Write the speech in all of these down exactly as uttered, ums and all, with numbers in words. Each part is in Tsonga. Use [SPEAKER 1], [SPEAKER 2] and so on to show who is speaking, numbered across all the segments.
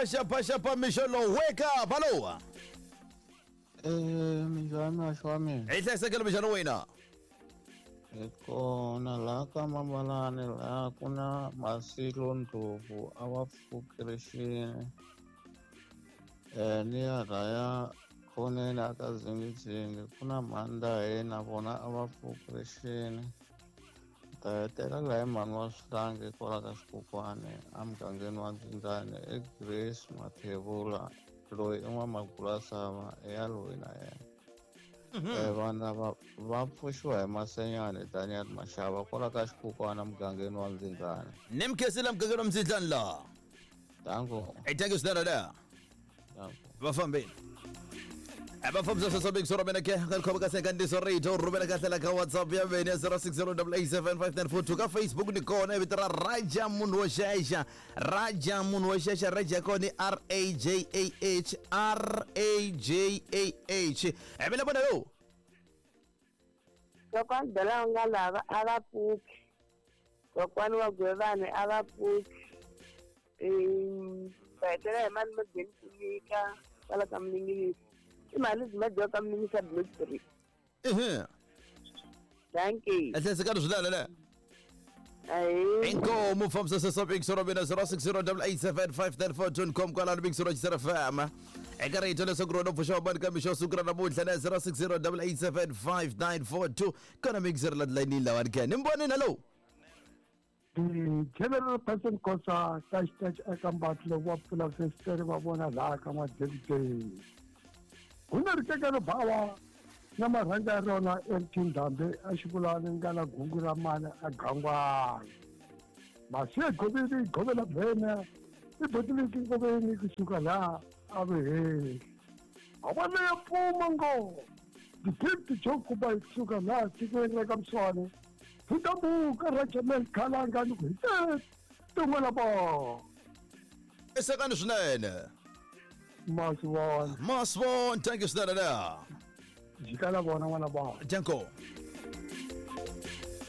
[SPEAKER 1] Xapa xapa xapa mixo lowu wake up hello.
[SPEAKER 2] Eh minjhani maxo wa mina?
[SPEAKER 1] Hi hlayisekile minjhani wena?
[SPEAKER 2] Hi kona laha ka Mabalani laha ku na Masilo Ndlovu a va pfukerixini eh ni ya laya khoneni a ka Zingizingi ku na Mhandahe na vona a va pfukerixini. Ta hetelela laha hi mhani wa Swihlangi kwala ka Xikokwani emugangeni wa Ndzindani i Grace Mathebula loyi i n'wamagulasava ya loyi na yena. Eh vana va va pfuxiwa hi Masenyani Daniel Mashava kwala ka Xikokwani emugangeni wa Ndzindani.
[SPEAKER 1] Ni mkhensile mugangeni wa Ndzindani laha.
[SPEAKER 2] Danko.
[SPEAKER 1] Hey, thank you swinene la.
[SPEAKER 2] Danko.
[SPEAKER 1] Va fambile. Va fambisa sweswo big soro mina ke ka khoma ka sekandiso rito rhumela kahle la ka WhatsApp ya mina zero six zero eight eight seven five nine four two ka Facebook ni kona vito ra Raja munhu wo xexa Raja munhu wo xexa Raja kona R A J A H R A J A H e mina vona yo
[SPEAKER 3] Kokwani Bela nga lava a va pfuki kokwani wa Gwevani a va pfuki eh va hetelela hi mali mageni kunyika kwala ka Mninginisi i mali byi madyiwa ka Mninginisi block three.
[SPEAKER 1] Ehe.
[SPEAKER 3] Thank you.
[SPEAKER 1] Ehleketa swinene le.
[SPEAKER 3] Ayi.
[SPEAKER 1] Inkomo fambisa sweswo big soro mina zero six zero eight eight seven five nine four two com kwala big soro F M. Eka rito leswaku rona pfuxa vabani ka mixo siku ra namuntlha na zero six zero eight eight seven five nine four two kona big soro la line lawani ke ni mbonini hello.
[SPEAKER 4] The general person kosa touch touch eka mbatlo wa pfula festere va vona laha ka Madyelideni. Ku na rikekelo bawa na marhanga ya rona M T Ndhambe a xivulani nga na gungu ra mani a gangwana. Masiye goveni govela bvena i botiliki ngoveni kusuka laha a veheli. Avana ya pfuma ngo the gift jokuba kusuka laha tikweni ra ka Mswane. Thutambuka Rajaman Khalanga ni ku hi tin'wana bo.
[SPEAKER 1] Esekani swinene.
[SPEAKER 4] Maswon.
[SPEAKER 1] Maswon, thank you swinene la.
[SPEAKER 4] Jikala vona n'wana ba.
[SPEAKER 1] Danko.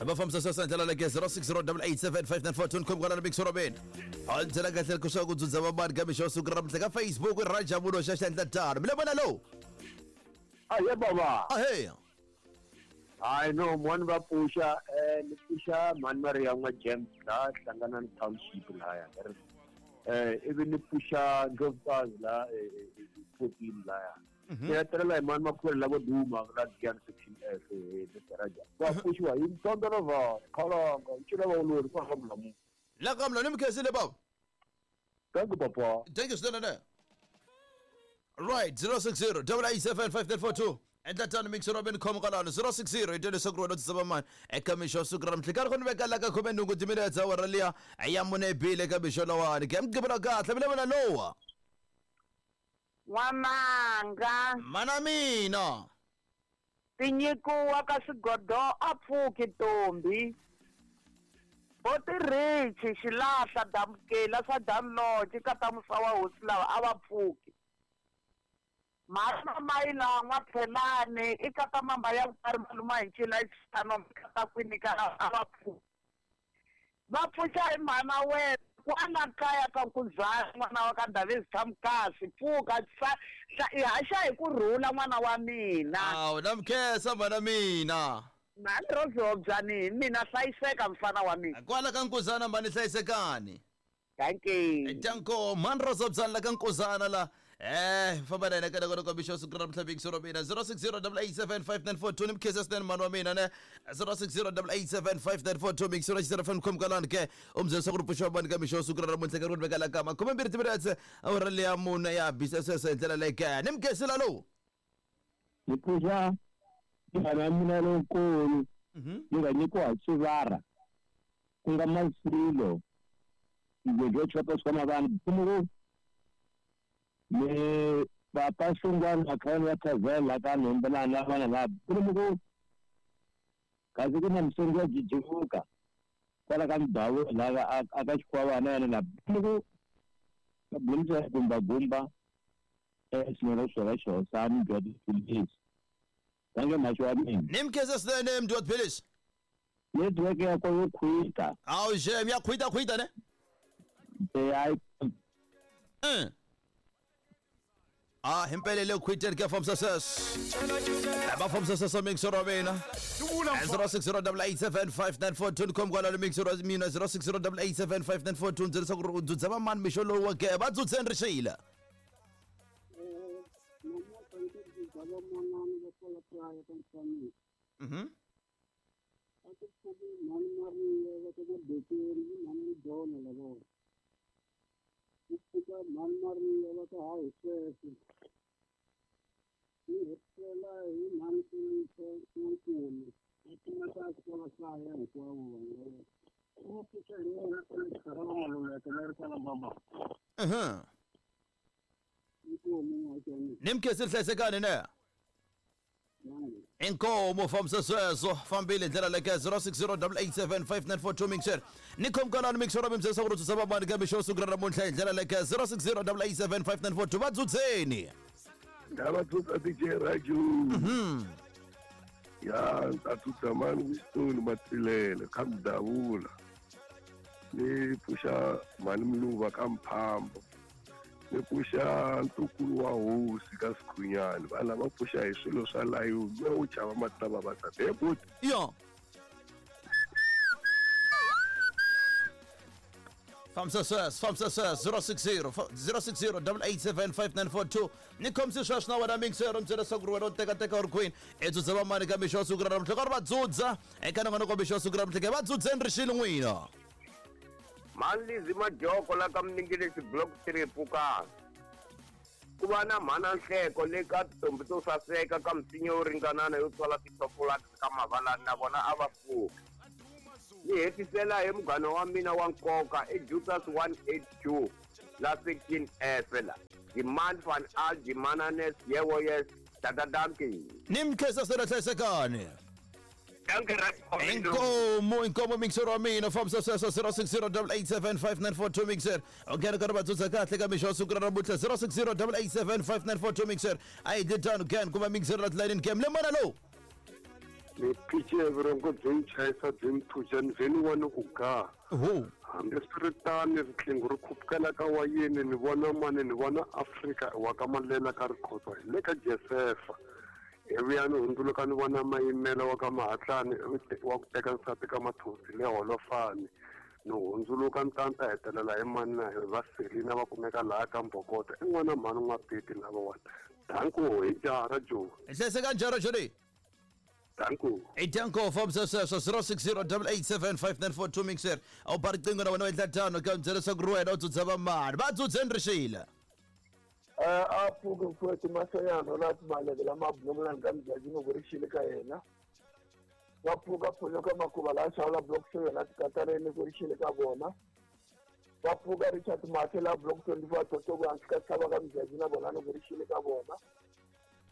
[SPEAKER 1] Va fambisa sweswo ndlela leke zero six zero eight eight seven five nine four two com kwala big soro ben. A ndlela kahle ku swa ku dzudza vabani ka mixo siku ra namuntlha ka Facebook Raja munhu wo xexa endla tano. Mi le vona lowu?
[SPEAKER 5] Ahe baba.
[SPEAKER 1] Ahe.
[SPEAKER 5] Hayi no mhani va pfuxa eh ni pfuxa mhani Maria n'wa James la hlangana ni township laya. Eh ivi ni pfuxa Ndlovukazi la fourteen laya. Ni hetelela hi mhani Makhwele lavo duma la Giyani section F eh Mister Raja. Va pfuxiwa hi Mtondolova Khalanga ncila va ulori kwa ka Mulamu.
[SPEAKER 1] La ka Mulamu ni mkhensile baba.
[SPEAKER 5] Thank you papa.
[SPEAKER 1] Thank you swinene. Right zero six zero eight eight seven five nine four two. Endla tano mix Robin com kwalano zero six zero itele sokro no tsaba mani eka mixo siku ra namuntlha karhi ku ni veka la ka khume nhungu timinetse awara liya ya mune bile ka mixo lowani ke mugqivela kahle mi le vona lowa
[SPEAKER 3] N'wananga
[SPEAKER 1] mana mina
[SPEAKER 3] tinyikiwa ka swigodo a pfuki ntombi Botirichi xilahla damukela swa damloci ka ta musa wa hosi lava a va pfuki Mhana Mayila N'waphelani i kata mamba ya vukari maluma hi ncila xitano kata kwini ka a va pfuki va pfuxa hi mhana wena kwala kaya ka Nkuzana n'wana wa ka Davis Thamkasi pfuka i haxa hi ku rhula n'wana wa mina.
[SPEAKER 1] Awu na mkhensa mhana mina.
[SPEAKER 3] Mhani Rozobyani hi mina hlayiseka mfana wa mina.
[SPEAKER 1] Kwala ka Nkuzana mhani hlayisekani.
[SPEAKER 3] Thank you.
[SPEAKER 1] Danko mhani Rozobyani la ka Nkuzana la. Eh famba na yena ka loko loko mixo siku ra namuntlha big soro mina zero six zero eight eight seven five nine four two ni mkhensile swinene mhani wa mina ne zero six zero eight eight seven five nine four two mix soro xi F M com kwalani ke umzela swa ku ri pfuxa vabani ka mixo siku ra namuntlha ka ri veka la ka makhume mbirhi timinetse awara liya mune ya bisa sweswo hi ndlela leyi ke ni mkhensile lowu.
[SPEAKER 5] Ni pfuxa munghana wa mina lonkulu ni nga nyikiwa hi Xivara ku nga Masilo Ngwedlo chopa swa mavana ku ni papa Xungwana khale wa Thavela ka Nhembelana vana lava ku kasi ku na musongi wa jijivuka kwala ka Mdawu lava a ka Xikwavana yena la ku ka Bulisa gumba gumba eh xinero xora xosani bya tiphilisi tange maxo wa mina
[SPEAKER 1] ni mkhensa swinene mdya tiphilisi
[SPEAKER 5] network ya ko yo khwita
[SPEAKER 1] awu xem ya khwita khwita ne
[SPEAKER 5] eh ai
[SPEAKER 1] eh Ah, himpelele khwiteni ka form success. Aba form success mixer wa mina. zero six zero eight eight seven five nine four two com kwala mixer wa mina zero six zero eight eight seven five nine four two ndzela ku dzudza va mani mixo lowu wa ke va dzudzeni ri xila. Mhm. Mhm. Nimkhe sihlayisekani ne? Inkomo from Sesweso fambile ndlela leke zero six zero eight eight seven five nine four two mixer nikhomkalani mixer wa mimsesa ku rutsa vamani ka mixo siku ra namuntlha hi ndlela leke zero six zero eight eight seven five nine four two va dzudzeni
[SPEAKER 6] ndava dzudza D J Raju.
[SPEAKER 1] Mhm.
[SPEAKER 6] Ya ta dzudza mani Winston Matsilele ka Mdavula ni pfuxa mani Mluva ka Mphambo ni pfuxa ntukulu wa hosi ka Sikhunyani va lava pfuxa hi swilo swa layuni me u chava matava va ta bebut
[SPEAKER 1] yo From success, from success, zero six zero zero six zero eight eight seven five nine four two. Nikhomsi sweswi na wena mixer mbyela swa ku ri wena u teka teka uri queen. I dzudza va mani ka mixo wa siku ra namuntlha ka ri va dzudza eka nongonoko mixo wa siku ra namuntlha va dzudzeni rixile n'wina.
[SPEAKER 7] Mhani Majoko la ka Mningelesi block three Pukani. Ku va na mhana Nhleko le ka tintombi to saseka ka misinya yo ringanana yo tswala tithofolati ka mavalani na vona a va pfuki. Ni hetisela hi munghana wa mina wa nkoka i Jutas one eight two la section F la. Demand van al dimananes yewo yes tatadanki.
[SPEAKER 1] Nimkhesa sera hlayisekani. Inkomo inkomo mixer wa mina from success zero six zero eight eight seven five nine four two mixer. Okay ka ri va dzudza kahle ka mixo wa siku ra namuntlha zero six zero eight eight seven five nine four two mixer. A hi dyi tano again kuma mixer la tilayini game le mana lowu.
[SPEAKER 6] Ni phice vurhongo byi ni chayisa byi ni phuca ni vhe ni vona ku ga. Hambiswiritano riqingho ri khupukela ka wayeni ni vona mani ni vona Afrika wa ka Malela ka Rikhotso hi le ka Josefa. Ivi ya ni hundzuluka ni vona Mayimela wa ka Mahatlani wa ku teka nsati ka Mathosi le Holofani. Ni hundzuluka ni ta ni ta hetelela hi mani na hi va Selina va kumeka laha ka Mbhokoto i n'wana mhani N'wapiti lavawani. Danko hi jara Joe.
[SPEAKER 1] Hlayiseka njhani Joe?
[SPEAKER 6] Danko.
[SPEAKER 1] Danko from success zero six zero eight eight seven five nine four two mixer. A wu ba riqingho na wena u endla tano ka byela swa ku ri wena u dzudza va mani va dzudzeni rixile.
[SPEAKER 4] A pfuke mfowethu Masayana la timaleke lama bulungulani ka Mjajini ku ri xile ka yena. Va pfuka pfuluka Makhuva la xawula block seven la tikatareni ku ri xile ka vona. Va pfuka Richard Mathe la block twenty four Totoko hansi ka tshava ka Mjajini na vona ku ri xile ka vona.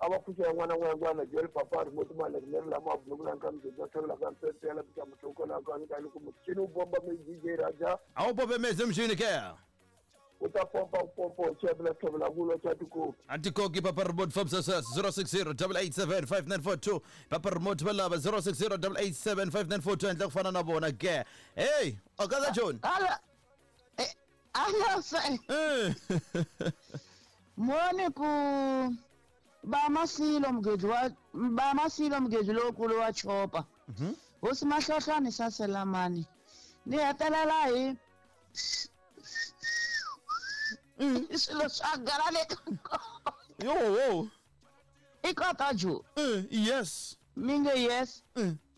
[SPEAKER 4] A va pfuxa n'wana n'wana Joel Papa remote maleke leri lama bulungulani ka Mjajini va xawula ka Mpempela pita muhloko la ka ka loko muchini wu bomba mi D J Raja.
[SPEAKER 1] A wu bombe mezi mchini ke?
[SPEAKER 4] U ta pompa u pompa u chevela chevela kulo cha tikoki.
[SPEAKER 1] Antikoki Papa remote from success zero six zero eight eight seven five nine four two. Papa remote va lava zero six zero eight eight seven five nine four two endla ku fana na vona ke. Hey, okaza John.
[SPEAKER 8] Ala ala sa. Mone ku ba masilo mgezi wa ba masilo mgezi lokulu wa chopa.
[SPEAKER 1] Mhm.
[SPEAKER 8] Hosi Mahlohlwane saselamani. Ni hetelela hi swilo swa gala le ka
[SPEAKER 1] yo wo
[SPEAKER 8] i kota jo.
[SPEAKER 1] Yes
[SPEAKER 8] mi nge yes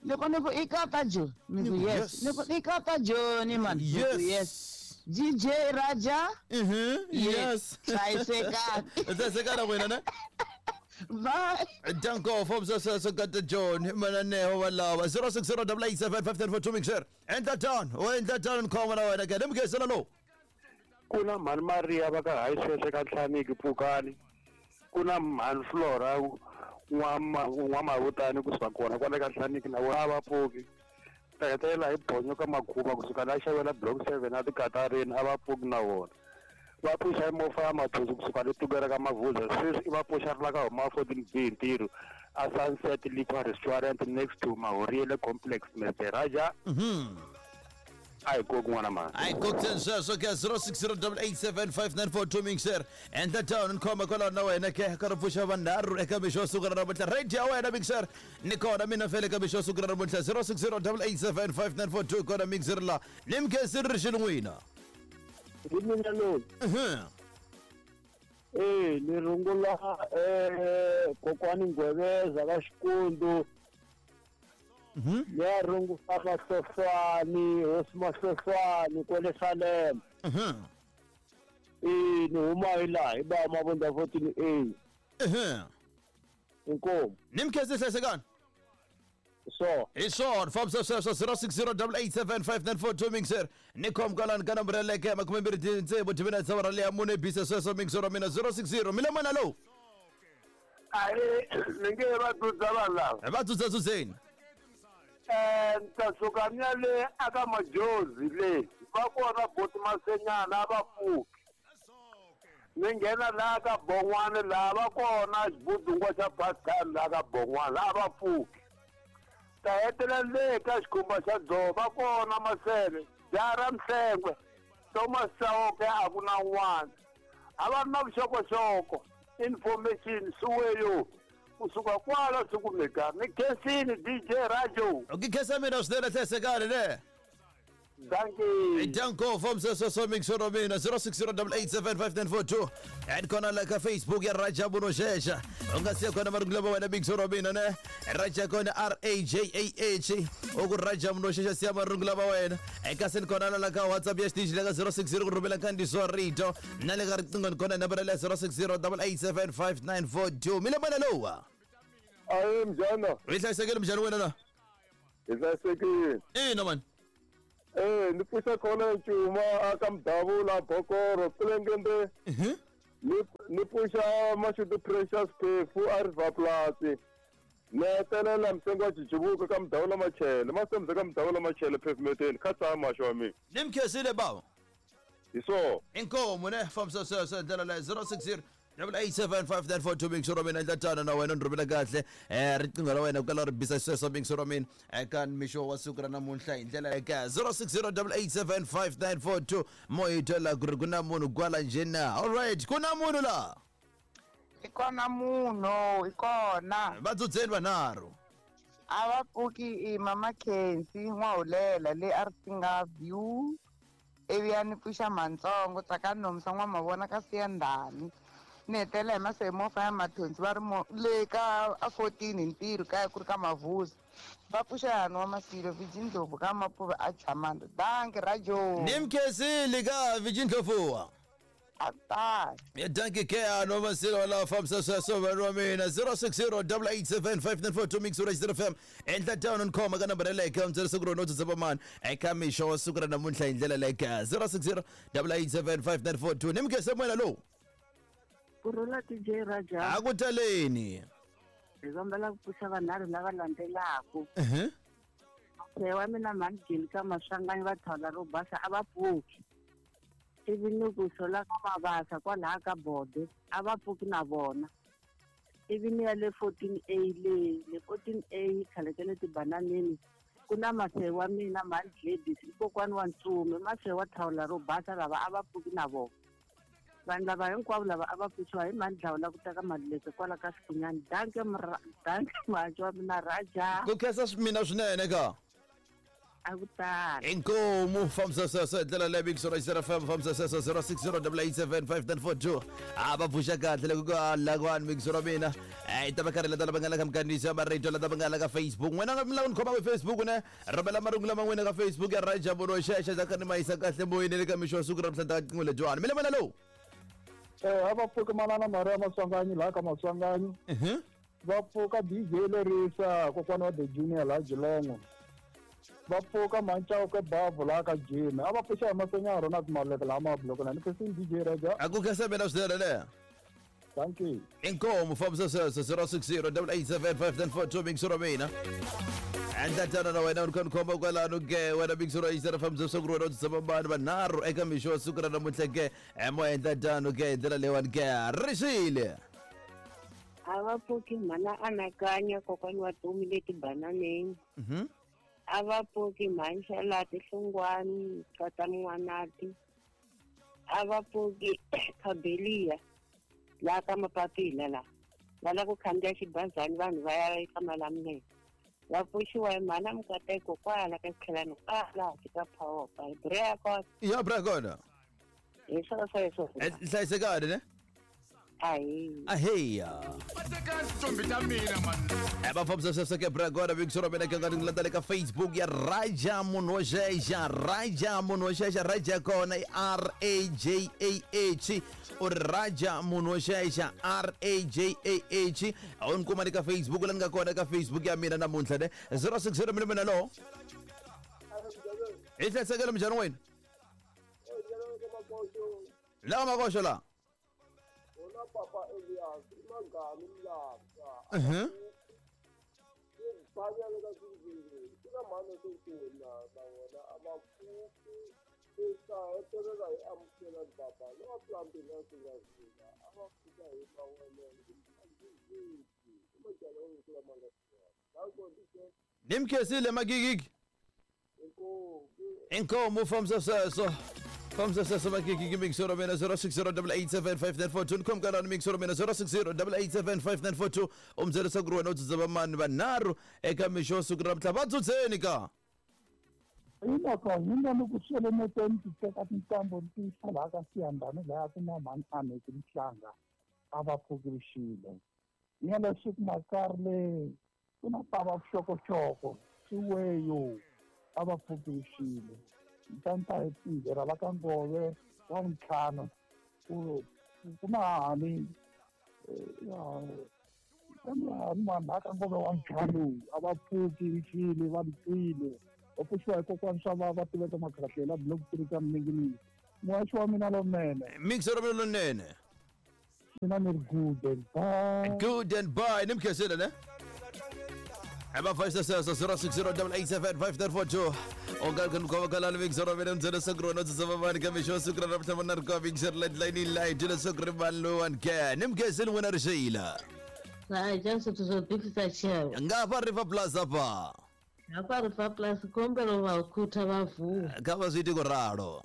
[SPEAKER 8] loko ni ku i kota jo mi ku yes ni ku i kota jo ni man
[SPEAKER 1] yes
[SPEAKER 8] yes D J Raja.
[SPEAKER 1] Mhm yes
[SPEAKER 8] hlayisekani
[SPEAKER 1] hlayisekani wena ne.
[SPEAKER 8] Bye.
[SPEAKER 1] Danko from success got the John Mananeho walava zero six zero eight eight seven five nine four two mixer. Endla tano u endla tano ni khoma na wena ke nimkhesela lowu.
[SPEAKER 6] Ku na mhani Maria va ka hayi sweswe ka Nhlaniki Pfukani. Ku na mhani Flora N'wamavutani kusuka kona kwale ka Nhlaniki na vona a va pfuki. Ta hetelela hi Bonyo ka Makhuva kusuka la xavela block seven a tikatarini a va pfuki na vona. Va pfuxa hi mofa ya Mathosi kusuka le Tugela ka Mavuza sweswi i va pfuxa ri la ka huma fourteen B hi ntirho a Sunset Liquor Restaurant next to Mahoriele Complex Mister Raja.
[SPEAKER 1] Mhm.
[SPEAKER 6] A hi koki n'wana mhani.
[SPEAKER 1] A hi kokiseni sweswo ke zero six zero double eight seven five nine four two mixer. Endla tano ni khoma kwalaho na wena ke ka ri pfuxa vanharhu eka mixo wa siku ra namuntlha. Radio ya wena mixer ni kona mina fele eka mixo wa siku ra namuntlha zero six zero double eight seven five nine four two kona mixer la. Ni mkhensini ri xini n'wina.
[SPEAKER 5] Hi mina loyi.
[SPEAKER 1] Mhm.
[SPEAKER 5] Eh, ni rungula eh kokwani Ngweveza ka Xikundu.
[SPEAKER 1] Mhm.
[SPEAKER 5] Ya rungula Mahlofani, hosi Mahlofani kwale Salem.
[SPEAKER 1] Mhm.
[SPEAKER 5] Eh, ni huma hi laha hi ba Mabunda fourteen A.
[SPEAKER 1] Mhm.
[SPEAKER 5] Inkomu.
[SPEAKER 1] Ni mkhensi hlayisekani.
[SPEAKER 5] So.
[SPEAKER 1] Hi swona fambisa sweswo zero six zero double eight seven five nine four two mixer. Ni khom kwalani ka nambara yaleyo ya makume mbirhi tsevu timina tsevu ra leya mune bisa sweswo mixer wa mina zero six zero. Mi le mana lowu?
[SPEAKER 6] Ahi, ni nge va dzudza vanhu lava.
[SPEAKER 1] Va dzudza-dzudzeni.
[SPEAKER 6] Eh, ni ta suka ni ya le aka Majozi le. Va kona boti Masenyana a va pfuki. Ni nghena laha ka Bon'wana laha va kona xibudungwa xa Pascal laha ka Bon'wana a va pfuki. Ta hetelela le ka xikhumba xa dzovo va kona Masele, Jara Mhlengwe, Thomas Chauke a ku na n'wana. A va ri na vuxokoxoko, information suweyo. Kusuka kwala swi kumeka. Ni khensini D J Rajo.
[SPEAKER 1] U khensa mina swinene hlayisekani ne.
[SPEAKER 6] Dankie.
[SPEAKER 1] Danko fambisa sweswo mixer wa mina zero six zero double eight seven five nine four two. And kona la ka Facebook ya Rajabu Noshesha. U nga siya kona marungula ma wena mixer wa mina ne. Raja kona R A J A H. U ku Rajabu Noshesha siya marungula ma wena. Eka send kona la ka WhatsApp ya xitichi la ka zero six zero ku rhumela nkandziyiso wa rito. Na le ka riqingho ni kona nambara ya zero six zero double eight seven five nine four two. Mi le mana lowa?
[SPEAKER 6] Ayi mjana.
[SPEAKER 1] Hi hlayisekile mjana wena na?
[SPEAKER 6] Hi hlayisekile.
[SPEAKER 1] Ina man.
[SPEAKER 6] Eh, ni pfuxa khona Ncuma aka Mdavula Bokoro Kulengende.
[SPEAKER 1] Mhm.
[SPEAKER 6] Ni ni pfuxa Mashudu Precious Phefu a River Plus. Ni hetelela msengo wa Jijibuka ka Mdavula Machele. Masemze ka Mdavula Machele pavement kha tsama xo mi.
[SPEAKER 1] Ni mkhensile baba.
[SPEAKER 6] Hi so.
[SPEAKER 1] Inkomu ne fambisa sweswo ndlela leyi zero six zero double eight seven five nine four two mixer wa mina endla tano na wena ni rhumela kahle eh riqingho ra wena ku kala ri bisa sweswo mixer wa mina eka mixo wa siku ra namuntlha hi ndlela eka zero six zero double eight seven five nine four two mo hi twela ku ri ku na munhu kwala njhena. All right, ku na munhu la?
[SPEAKER 3] I kona munhu, i kona.
[SPEAKER 1] Va dzudzeni vanharhu.
[SPEAKER 3] A va pfuki i Mama Khensi N'wahulela le a ri Singa View. Ivi ya ni pfuxa Mantsongo Tsakani Nomsa N'wamavona ka Siyandhani. Ni hetelela hi Masemofa ya Mathonsi va ri mo le ka a fourteen hi ntirho kaya ku ri ka Mavuzi. Va pfuxa yani wa Masilo Vijay Ndlovu ka Mapuve a Chamanda. Dankie Rajo.
[SPEAKER 1] Ni mkhensile ka Vijay Ndlovu.
[SPEAKER 3] Ata.
[SPEAKER 1] Ya dankie ke ano Masilo la fambisa sweswo vanhu wa mina zero six zero double eight seven five nine four two mix ra F M. Endla tano ni khoma ka nambara leyi ka mbyela siku rona u mani eka mixo wa siku ra namuntlha hi ndlela leyi ka zero six zero double eight seven five nine four two. Ni mkhense mwena lowu.
[SPEAKER 9] Kurhula D J Raja.
[SPEAKER 1] A ku taleni.
[SPEAKER 9] Hi kombela ku pfuxa vanharhu lava landzelaka.
[SPEAKER 1] Mhm.
[SPEAKER 9] Se wa mina mhani Jeni ka Maswanganyi va thawula ro basa a va pfuki. Ivi ni ku sola ka Mabasa kwalaha ka Bode a va pfuki na vona. Ivi ni ya le fourteen A le, le fourteen A khale ka le tibananeni ku na mase wa mina mhani Gladys i kokwani wa Ntsume mase wa thawula ro basa lava a va pfuki na vona. Vanhu lava hinkwavo lava a va pfuxiwa hi mhani Dlawula ku ta ka Maluleke kwala ka Xikunyani. Dankie mra, dankie mhaxi wa mina Raja.
[SPEAKER 1] Ku khensa mina swinene ka.
[SPEAKER 9] A ku tali.
[SPEAKER 1] Inkomu fambisa sweswo hi ndlela leyi mixer ra F M fambisa sweswo zero six zero double eight seven five nine four two. A va pfuxa kahle loko ku lakwani mixer wa mina. Eh ta va karhi lata lava nga la ka minkandziyiso ya marito lata va nga la ka Facebook. N'wina mi lava ni khoma ka Facebook ne rhumela marungulo ma n'wina ka Facebook ya Rajabu Noshesha ta ka ni ma yisa kahle moyeni le ka mixo wa siku ra namuntlha ta ka lebyani. Mi le mana lowu?
[SPEAKER 4] Eh a va pfuki manana Maria Maswanganyi laha ka Maswanganyi.
[SPEAKER 1] Mhm.
[SPEAKER 4] Va pfuka D J Lerisa kokwana wa The Junior laha Geelong. Va pfuka Manchauke Bavu laha ka Jim. A va pfuxa hi Masenya Ronald Maluleke laha Mabloko na ni khensini D J Raja.
[SPEAKER 1] A ku khensa mina swinene le.
[SPEAKER 4] Thank you.
[SPEAKER 1] Inkomu fambisa sweswo zero six zero double eight seven five nine four two mixer wa mina. Endla tano na wena u ri khomba kwalano ke wena mixer wa F M fambisa ku ri wena u tshama vanhu vanharhu eka mixo wa siku ra namuntlha ke mo endla tano ke hi ndlela leyiwani ke rixile.
[SPEAKER 9] A va pfuki mhana Anakanya kokwani wa Tumi le tibananeni.
[SPEAKER 1] Mhm.
[SPEAKER 9] A va pfuki mhani Xalati Hlungwani kata N'wanati. A va pfuki Khabelia laha ka Mapapila laha. Va lava ku khandziya xibazana vanhu va ya eka Malamulele. Va pfuxiwa hi mhana Mukateko kwala ka Xitlhelani kwala hansi ka Phawopa. Hi bra kona.
[SPEAKER 1] Ya bra kona.
[SPEAKER 9] Hi swona sweswo.
[SPEAKER 1] Hlayisekani ne?
[SPEAKER 9] Ahi.
[SPEAKER 1] Aheya. Va fambisa sweswo bra kona big sura mina ka ni landza le ka Facebook ya Raja munhu wo xexa Raja munhu wo xexa Raja kona i R A J A H u ri Raja munhu wo xexa R A J A H a wu ni kuma ni ka Facebook la ni nga kona ka Facebook ya mina namuntlha ne zero six zero mina mina lo hi hlayisekele minjhani wena la makoxo la
[SPEAKER 6] Papa Elias imangani mlapha
[SPEAKER 1] mhm
[SPEAKER 6] ibhakele ka sinzini ina mhani sokuna na wona abapfuki esa hetelela hi amukela baba lowa plambila singazila abapfuka hi mawelele
[SPEAKER 1] nimkhesile magigigi inkomo fambisa sweswo fambisa sweswo magigigi mixoro mina zero six zero eight eight seven five nine four two ni khomkalani mixoro mina zero six zero eight eight seven five nine four two u mi byela ku ri wena u dzudza vamani vanharhu eka mixo wa siku ra namuntlha va dzudzeni ka
[SPEAKER 4] Hiloko ni nga ni ku swelemete ni ti teka tintambu ni ti yisa laha ka Siyandhani laya ku na mhani Aneki Mhlanga a va pfukirixile ni ya leswi ku makari le ku na pava vuxokoxoko swiweyo a va pfukirixile ntanta hi tinghera la ka Ngove wa vuntlhanu ku ku na hani kambe hani vanhu la ka Ngove wa vuntlhanu a va pfukirixile va twile va pfuxiwa hi kokwani swa va va tiveka makhahlela block three ka Mninginingi muhaxi wa mina lonene
[SPEAKER 1] mixero mina lonene
[SPEAKER 4] mina ni ri good and bye
[SPEAKER 1] good and bye ni mkhesile ne va fambisa sweswo zero six zero eight eight seven five nine four two u nga ku khoma kalani mixero mina ndzela siku ri wena u dzudza vamani ka mixo wa siku ra namuntlha vona ri ka mixero line line dyela siku ri mani lowani ke ni mkhesile n'wina ri xeyila
[SPEAKER 10] Raja swithu swo bifisa xevo
[SPEAKER 1] nga fa River Plaza pa
[SPEAKER 10] hafha River Plus kombela va khutha va vuwa
[SPEAKER 1] kha va zwi iti ku ralo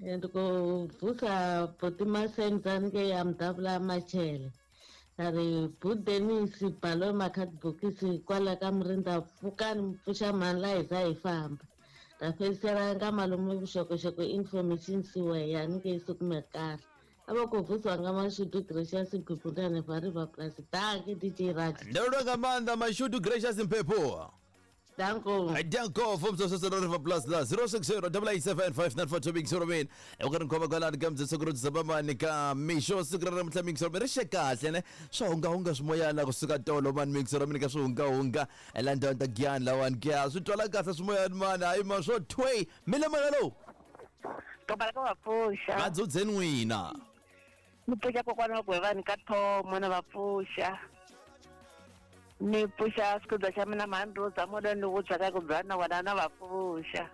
[SPEAKER 10] ndi khou vusa buti Masenza ngei ya Mudavula Machele ra ri budenisi balo makhadibokisi kwala ka Murinda pfukani mi pfuxa mhani la hi za hi famba ra fhedzisela nga malume vuxokoxoko information siweya ni siku mekala a va khou vusiwa nga Mashudu Gracious Mphephu va River Plus danki D J Raja
[SPEAKER 1] ndo nga maanḓa Mashudu Gracious Mphephu
[SPEAKER 10] Danko.
[SPEAKER 1] Danko from the River Plus la zero six zero eight eight seven five nine four two big zero min. U ka ri khoma kwalani ka mdzetso ku ri dzaba ka mixo siku ra namuntlha mixo ri xe kahle ne swa hungahunga swimoyana kusuka tolo mani mixo ra mina ka swi hungahunga la ndhawu ta Giyani lawani ke swi twala kahle swimoyani mani hayi ma swo thwei mi le mana lowu
[SPEAKER 9] Kombela ka va pfuxa
[SPEAKER 1] va dzudzeni n'wina
[SPEAKER 9] ni pfuxa kokwana wa Gwevani ka Thomo na va pfuxa ni pfuxa xikudza xa mina mhani Rosa mola ni ku byaka ku byana wena na va pfuxa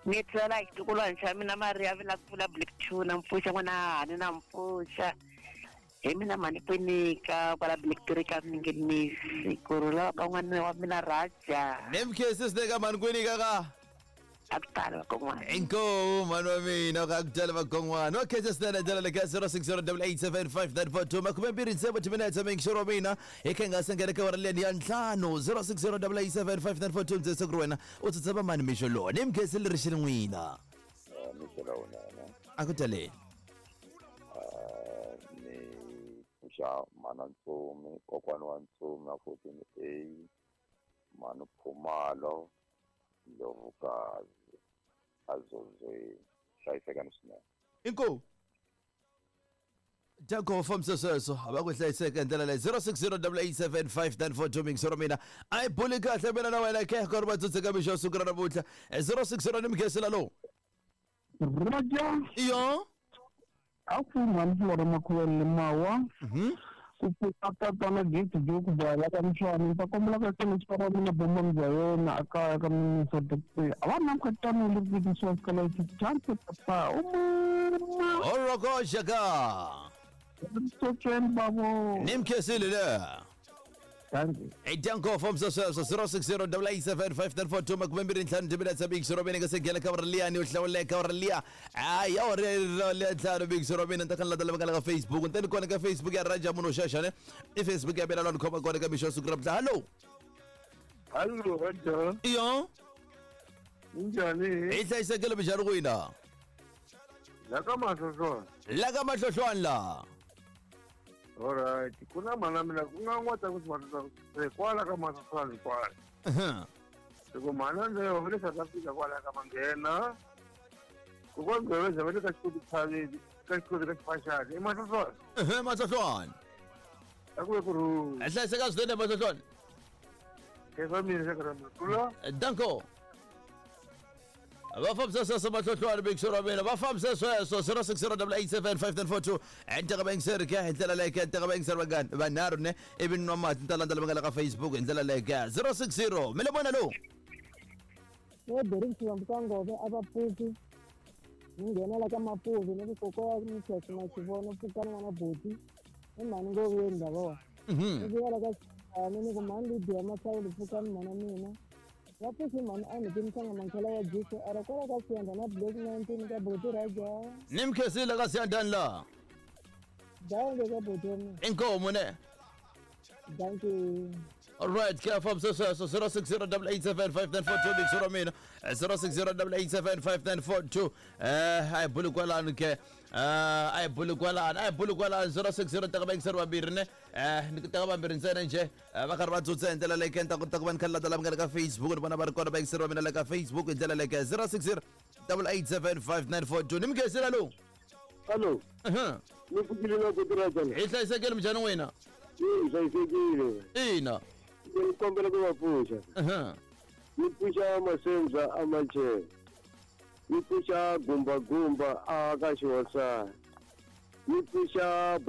[SPEAKER 9] ni tlhela hi xitukulwana xa mina Maria vi la ku pfula Black Tuna mpfuxa n'wana hani na mpfuxa hi mina mhani Kwinika kwala Black Three ka Minginisi ku rhula ka n'wana wa mina Raja
[SPEAKER 1] ni mkhesi swinene ka mhani Kwinika ka
[SPEAKER 9] a ku tali vakon'wana
[SPEAKER 1] inkomu mhani wa mina ka ku tali vakon'wana wa khensa swinene ndlela le ka zero six zero eight eight seven five nine four two makume mbirhi tsevu timinetse mixero wa mina hi kha hi nga sengele ka wara leni ya ntlhanu zero six zero eight eight seven five nine four two ndzese ku ri wena u tsutsa vamani mixo lowu ni mkhesi leri xi ri n'wina
[SPEAKER 11] mixo lowunene
[SPEAKER 1] a ku taleni
[SPEAKER 11] ni pfuxa mhana Ntsumi kokwana wa Ntsumi na fourteen A mhani Phumalo Ndlovukazi azozweni hlayisekani swinene
[SPEAKER 1] inkomu Danko fambisa sweswo a va ku hlayiseka hi ndlela leyi zero six zero eight eight seven five nine four two mixero mina a yi buli kahle mina na wena ke ku ri va tsutseka mixo wa siku ra namuntlha zero six zero ni mkhesela lowu
[SPEAKER 4] Raja
[SPEAKER 1] iyo
[SPEAKER 4] a ku mhani Flora Makhuvele mawa ku pfuka tatana Gift Duke Bala ka Mtshwana ta kombela ka xilo xa mina bomba bya yena a kaya ka minisa doctor a va na mkhatano le ku swa kala chance papa uma
[SPEAKER 1] Orokoshaka
[SPEAKER 4] Tsotsweni babo
[SPEAKER 1] ni mkhesile le
[SPEAKER 4] Thank you.
[SPEAKER 1] Hi danko fambisa sweswo zero six zero double eight seven five nine four two makume mbirhi ntlhanu timinetse big zero mina nga se nghena ka uri liyani yo hlawuleka uri liya hayi ya uri liya ntlhanu big zero mina ni ta kha ni landza lava nga la ka Facebook ni ta ni kona ka Facebook ya Raja munhu xaxa ne i Facebook ya mina laha ni khoma kona ka mixo siku ra mhla hallo.
[SPEAKER 4] Hallo Raja.
[SPEAKER 1] Iyo.
[SPEAKER 4] Minjhani?
[SPEAKER 1] Hi hlayisekile minjhani kwina?
[SPEAKER 4] La ka Mahlohlwana.
[SPEAKER 1] La ka Mahlohlwana la.
[SPEAKER 4] Alright, ku na mhana mina ku nga n'wa ta ku swi kwala ka Mahlohlwana kwala. Loko mhana leyo va le South Africa kwala ka Manghena. Kokwana Gqebeza va le ka xikoti Tshaveni, ka xikoti ka Xiphaxani, i Mahlohlwana.
[SPEAKER 1] Ehe, Mahlohlwana.
[SPEAKER 4] A ku ve ku rhula.
[SPEAKER 1] Hi hlayiseka swinene Mahlohlwana.
[SPEAKER 4] Khensa mina xaka ra mina. Rhula.
[SPEAKER 1] Danko. Va fambisa sweswo Mahlohlwana big show ra mina va fambisa sweswo zero six zero double eight seven five nine four two enteka vayingiseri ke hi ndlela leyi ke enteka vayingiseri vangani vanharhu ne ivi ni nwa mati ni ta landza lava nga le ka Facebook hi ndlela leyi ke zero six zero mi le vona lowu.
[SPEAKER 12] No Derek Xivambu ka Ngove a va pfuki ni nghena la ka Mapuvi ni ku kokwa ni Church Maxivono pfukani n'wana buti i mhani Ngoveni ndhavuko. Ni vuya la ka Xani ni ku mhani Lydia Mahlawuli pfukani mhana mina. Va pfuxi mhani a ni timisanga mankhela ya Jesu a ri kwala ka Siyanda na Black nineteen ka buti Raja.
[SPEAKER 1] Ni mi khensile ka Siyandani laha.
[SPEAKER 12] Danke ka buti wa mina.
[SPEAKER 1] Inkomu ne.
[SPEAKER 12] Thank you.
[SPEAKER 1] All right, ke fambisa sweswo zero six zero double eight seven five nine four two big show ra mina zero six zero double eight seven five nine four two eh a hi buli kwalano ke eh a hi buli kwalano a hi buli kwalano zero six zero teka vayingiseri vambirhi ne eh ni teka vambirhi ntsena njhe va karhi va tsutsa hi ndlela leyi ke ni ta kota ku va ni kha ni landza lava nga le ka Facebook ni vona va ri kona vayingiseri va mina le ka Facebook hi ndlela leyi ke zero six zero double eight seven five nine four two ni mi khensile lowu.
[SPEAKER 5] Hallo. Ni pfukile na ku tirha njhani?
[SPEAKER 1] Hi hlayisekile minjhani n'wina?
[SPEAKER 5] Hi hlayisekile.
[SPEAKER 1] Ina.
[SPEAKER 5] Ni kombela ku va pfuxa. Ni pfuxa Masenza a Machele. Ni pfuxa Gumba Gumba a ka Xihosa. Ni pfuxa